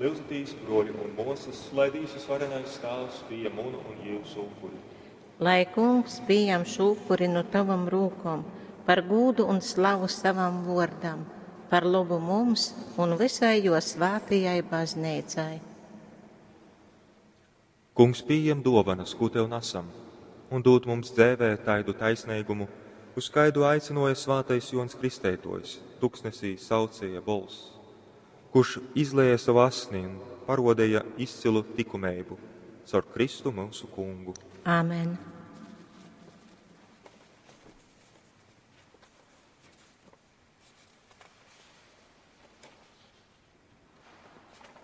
Lyudzitīs, bruoļi un muosys, lai Dīvs Vysvarenais Tāvs pījam munu un jiusu upuri. Lai Kungs pījam šū upuri nu tavom rūkom par gūdu un slavu savam vuordam, par lobu mums un visai juo svātajai bazneicai. Kungs pījem duovanas, kū tev nasam, un dūd mums dzēvē taidu taisneigumu, uz kaidu aicynuoja svātais Juoņs Kristeituojs, tuksnesī saucieja bolss, kurš izlēja savu asni un parodīja izcilu tikumeibu caur Kristu mūsu kungu. Āmen.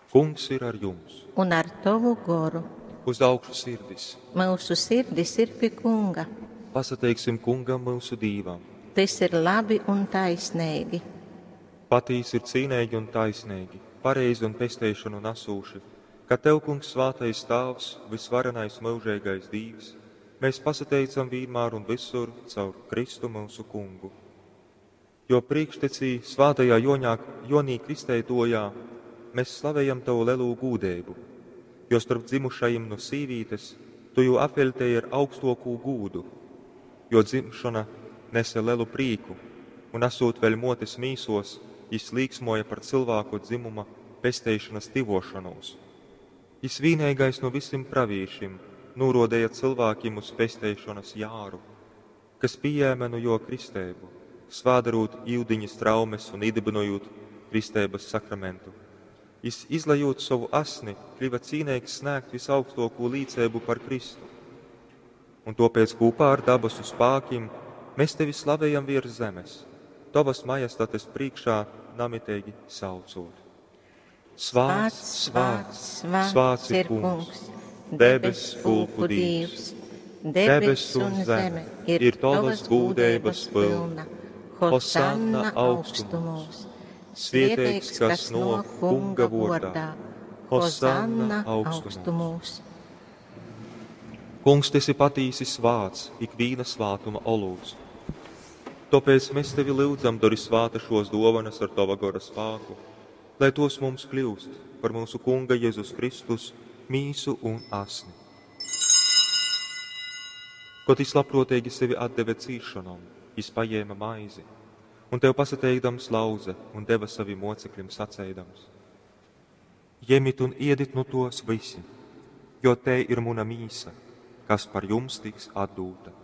Kungs ir ar jums. Un ar tavu goru. Uz augšu sirdis. Mūsu sirdis ir pie Kunga. Pasateiksim kungam mūsu Dīvam. Tas ir labi un taisnīgi. Patīsi ir cīnīgi un taisnīgi, pareizi un pesteišanu nesūši, ka Tev, Kungs, svātais Tāvs, visvarenais mūžīgais Dīvs, mēs pasateicam vienmēr un visur caur Kristu mūsu kungu. Jo priekštecī svātajā Joņā, Jonī Kristeitojā mēs slavējam Tavu lelu gūdeibu, jo starp dzimušajiem no sīvītes Tu jū apveļtēji ar augstokū gūdu, jo dzimšana nese lelu prīku, un esot vēļ motes mīsos, jis līksmoja par cilvēku dzimuma pesteišanas tivošanos. Jis vīneigais no visiem pravīšim norodēja cilvēkiem uz pesteišanas jāru, kas pieēma no jo kristēbu, svādarūt iudiņas traumes un iedibinojot kristēbas sakramentu. Jis, izlejot savu asni, kļuva cīnīgs snēgt visaugstoko līdzēbu par Kristu. Un topēc kopā ar dabasu spākim mēs tevi slavējam virs zemes, tavas majestates priekšā namitīgi saucot. Svāts, svāts, svāts ir Kungs, debes pulku Dīvs. Debes un zeme ir tavas gūdeibas pilna. Hosanna augstumos. Svieteigs, kas no Kunga vordā. Hosanna augstumos. Kungs, tu esi patīsi svāts, ikvīna svātuma olūts. Tāpēc mēs tevi lūdzam, dari svāta šos dovanas ar tava gora spāku, lai tos mums kļūst par mūsu Kunga Jēzus Kristus mīsu un asni. Kot jis labprātīgi sevi atdeve cīšanom, jis paņēma maizi, un tev pasateikdams lauze un deva saviem mocekļiem sacēdams: Ņemiet un iedit nu tos visi, jo te ir muna mīsa, kas par jums tiks atdūta.